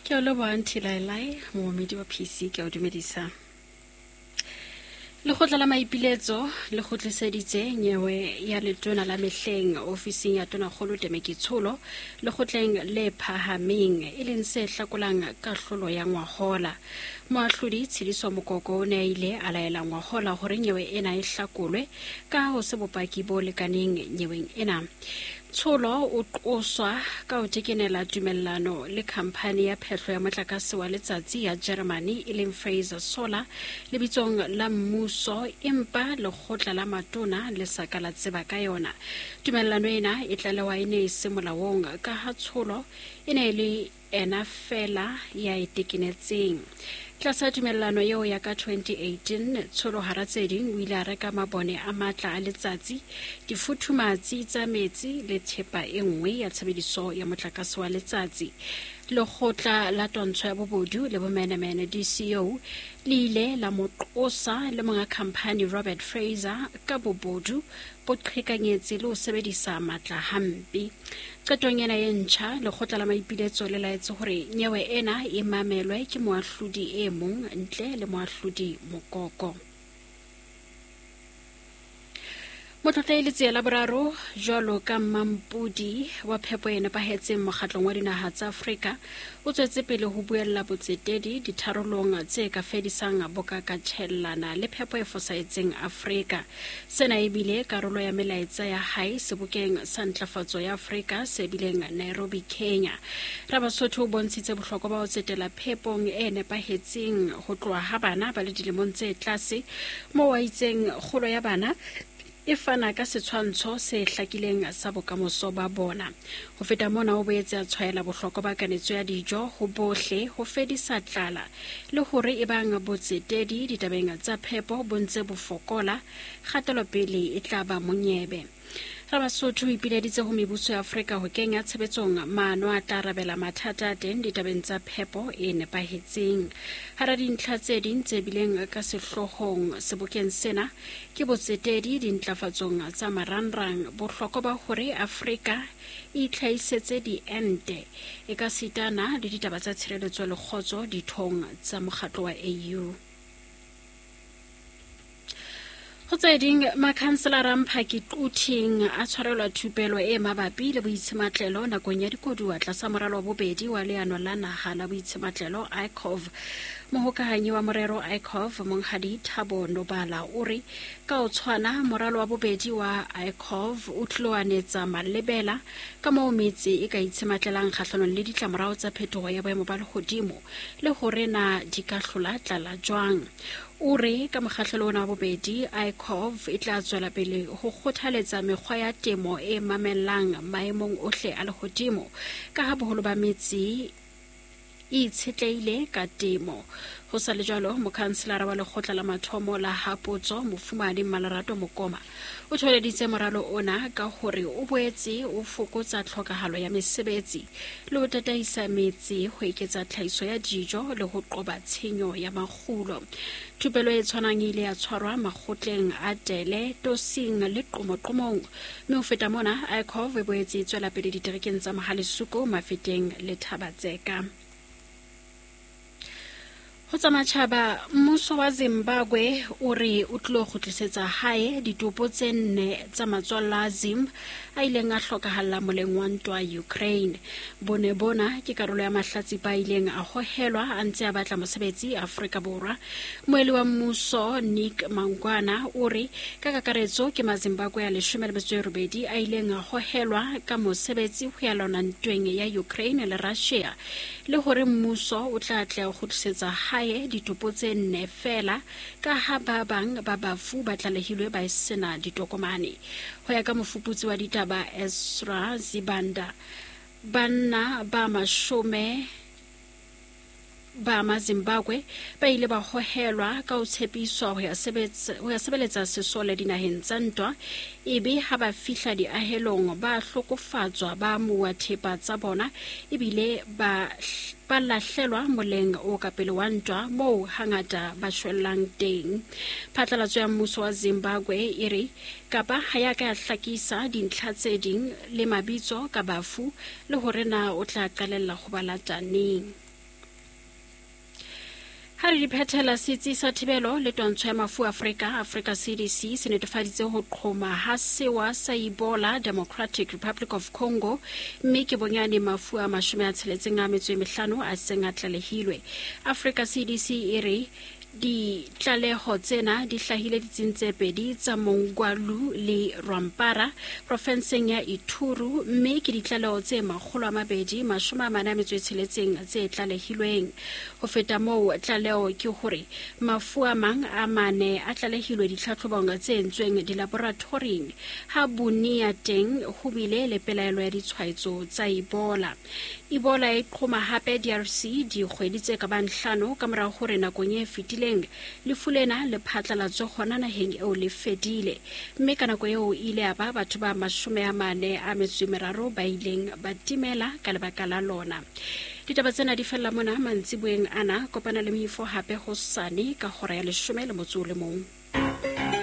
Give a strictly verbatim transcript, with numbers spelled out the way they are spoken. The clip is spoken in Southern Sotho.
Ke o leboha Nthilaelae, moomedi wa P C, ke o dumedisa. Lekgotla la maipiletso le kgutliseditse nyewe ya letona la mehleng ofising ya Tonakgolo Temeki Tsholo lekgotleng le phahameng, e leng se hlakolang kahlolo ya ngwahola. Moahlodi Tshediso Mokoko o ne a ile a laela ngwahola hore nyewe ena e hlakolwe ka ho se bopaki bo lekaneng nyeweng ena. Tsholo o qoswa ka ho tekenela tumellano le khamphani ya phehlo ya motlakase wa letsatsi ya Germany e leng Fraser Solar lebitsong la mmuso, empa lekgotla la matona le sa ka la tseba ka yona. Tumellano ena e tlalewa e ne e se molaong ka ha Tsholo e ne e le ena fela ya e tekenetseng. Tlasa tumellano eo ya ka twenty eighteen, Tsholo hara tse ding o ile a reka mabone a matla a letsatsi, difuthumatsi tsa metsi le thepa e nngwe ya tshebediso ya motlakase wa letsatsi. Lekgotla la twantsho ya bobodu le bomenemene D C O le ile la mo qosa le monga khamphani Robert Fraser ka bobodu, boqhekanyetsi le ho sebedisa matla hampe. Qetong ena e ntjha, lekgotla la maipiletso le laetse hore nyewe ena e mamelwe ke moahlodi e mong ntle le moahlodi Mokoko. Motlotla e letsie la boraro jwalo ka Mampudi wa phepo e nepahetseng mokgatlong wa dinaha tsa Afrika o tswetse pele ho buella botsetedi ditharolong tse ka fedisang bokakatjhellana le phepo e fosahetseng Afrika. Sena e bile karolo ya melaetsa ya hae sebokeng sa ntlafatso ya Afrika se bileng Nairobi, Kenya. Rabasotho o bontshitse bohlokwa ba ho tsetela phepong e nepahetseng ho tloha ha bana ba le dilemong tse tlase, moo a itseng kgolo ya bana e fana ka setshwantsho se hlakileng sa bokamoso ba bona. Ho feta mona, o boetse a tshwaela bohlokwa ba kanetso ya dijo ho bohle ho fedisa tlala le hore ebang botsetedi ditabeng tsa phepo bo ntse bo fokola, kgatelopele e tla ba monyebe. Rabasotho o ipileditse ho mebuso ya Afrika ho kenya tshebetsong maano a tla arabela mathata a teng ditabeng tsa phepo e nepahetseng. Hara dintlha tse ding tse bileng ka sehloohong sebokeng sena ke botsetedi dintlafatsong tsa marangrang, bohlokwa ba hore Afrika e itlhahisetse diente e ka sitana le ditaba tsa tshireletso le kgotso dithong tsa mokgatlo wa A U. Ho tse ding, makhanselara Mphaki Quthing a tshwarelwa thupelo e mabapi le boitshematlelo nakong ya dikoduwa tlasa moralo wa bobedi wa leano la naha la boitshematlelo I C O V. Mohokahanyi wa morero I C O V Monghadi Thabo Nobala o re ka ho tshwana moralo wa bobedi wa I C O V o tlilo anetsa malebela ka moo metse e ka itshematlelang kgahlanong le ditlamorao tsa phetoho ya boemo ba lehodimo le hore na di ka hlola tlala jwang. O re ka mokgahlelo ona wa bobedi I C O V e tla tswela pele ho kgothaletsa mekgwa ya temo e mamellang maemong ohle a lehodimo ka ha boholo ba metse e itshetlehile ka temo. Ho sa le jwalo, mokhanselara wa lekgotla la mathomo la Hapotso Mofumadi Malerato Mokoma o tholeditse moralo ona ka hore o boetse o fokotsa tlhokahalo ya mesebetsi le ho tataisa metse ho eketsa tlhahiso ya dijo le ho qoba tshenyo ya makgulo. Thupelo e tshwanang e ile ya tshwarwa makgotleng a Tele, Tosing le Qomoqomong, mme ho feta mona I C O V e boetse e tswela pele diterekeng tsa Mohalesuko, Mafeteng le Thabatseka. Ho tsa matjhaba, mmuso wa Zimbabwe o re o tlilo kgutlisetsa hae ditopo tse nne tsa matswalla a Zim a ileng a hlokahalla moleng wa ntwa Ukraine. Bone bona ke karolo ya mahlatsipa a ileng a hohelwa a ntse a batla mosebetsi Afrika Borwa. Moeli wa mmuso Nick Mangwana o re ka kakaretso ke Mazimbabwe a leshome le metso e robedi a ileng a hohelwa ka mosebetsi ho ya lwana ntweng ya Ukraine le Russia, le hore mmuso o tla tla kgutlisetsa hae ditopo tse nne fela ka ha ba bang ba bafu ba tlalehilwe ba sena ditokomane. Ho ya ka mofuputsi wa ditaba Ezra Zibanda, banna ba mashome ba Mazimbabwe ba ile ba hohelwa ka ho tshepiswa ho ya sebetsa ho ya sebeletsa sesole dinaheng tsa ntwa, ebe ha ba fihla diahelong ba hlokofatswa, ba amuwa thepa tsa bona ebile ba ba lahlelwa moleng o ka pele wa ntwa moo hangata ba shwellang teng. Phatlalatso ya mmuso wa Zimbabwe e re kapa ha ya ka ya hlakisa dintlha tse ding le mabitso ka bafu le hore na o tla qalella ho ba lata neng. Ha re di phethela, setsi sa thibelo le twantsho ya mafu Afrika, Africa C D C, se netefaditse ho qhoma ha sewa sa Ebola Democratic Republic of Congo, mme ke bonyane mafu a mashome a tsheletseng a metso e mehlano a seng a tlalehilwe. Africa C D C e re ditlaleho tsena di hlahile ditsing tse pedi tsa Mongwalu le Rwampara profenseng ya Ituri, mme ke ditlaleho tse makgolo a mabedi mashome a mane a metso e tsheletseng tse tlalehilweng. Ho feta moo, tlaleho ke hore mafu a mang a mane a tlalehilwe ditlhatlhobong tse entsweng dilaboratoring, ha Bunia teng ho bile le pelaelo ya ditshwaetso tsa Ebola. Ebola e qhoma hape D R C dikgwedi tse ka bang hlano ka mora hore nakong e fetileng lefu lena le phatlalatswe hona naheng eo le fedile, mme ka nako eo ile ya ba batho ba mashome a mane a metso e meraro ba ileng ba timela ka lebaka la lona. Ditaba tsena di fella mona mantsiboeng ana. Kopana le Moifo hape hosane ka hora ya leshome le motso o le mong.